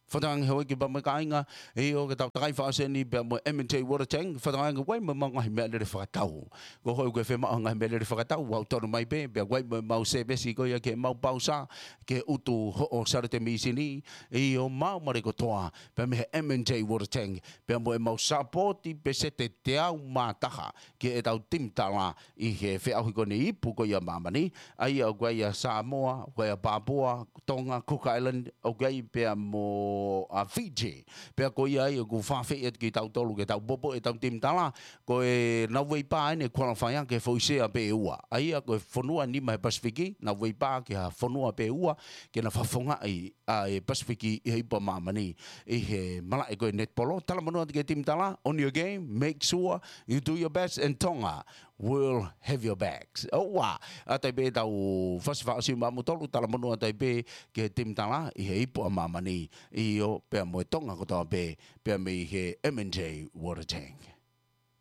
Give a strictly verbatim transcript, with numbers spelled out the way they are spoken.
Fakatauange houʻeiki pea mo e kāinga, ʻio, ke tau takai fakaʻosi eni pea mo e M and J Water Tank, fakatauange ʻoku ʻi ai mo ʻemau ngaahi meʻalele fakatau. Ko hoʻo ʻikai ke fiemaʻu ha ngaahi meʻalele fakatau, ʻoku tau tonu mai pē, pea ʻoku ʻi ai mo ʻemau sēvesi ko ia ke mau pausa, ke utu hoʻo saliote mīsini, ʻio, maʻu male kotoa, pea mei he M and J Water Tank, pea mo ʻemau sāpooti peseti teau mā taha, ki heʻetau timi tala ʻi he feʻauhi ko eni ipu ko ia māmani, ʻa ia ʻoku ʻi ai ʻa Samoa, ʻoku ʻi ai ʻa Papua, Tonga, Cook Island, ʻoku ʻi ai pea mo ʻa Fiji. Pea ko ia ai ʻoku fakaafeʻi atu kitautolu ke tau poupou ʻetau timi tala, ko e Nāueipā eni ʻe qualify ʻaki e foʻi sea pē ʻe ua. ʻA ia ko e fonua nima he Pasifiki, Nāueipā ki ha fonua pē ʻe ua, ke na fakafofongaʻi ʻa e Pasifiki ʻi he ipu ʻa māmani ʻi he malaʻe ko e netipolo. Talamonū atu ki he timi tala, on your game, make sure you do your best, and Tonga will have your backs. ʻOua, ʻa ia pē ʻetau fasi fakaʻosi maʻamoutolu, talamonū atu pē ki he timi tala ʻi he ipu ʻa māmani, ʻio, pea mo e Tonga kotoa pē, pea mei he M and J Water Tank.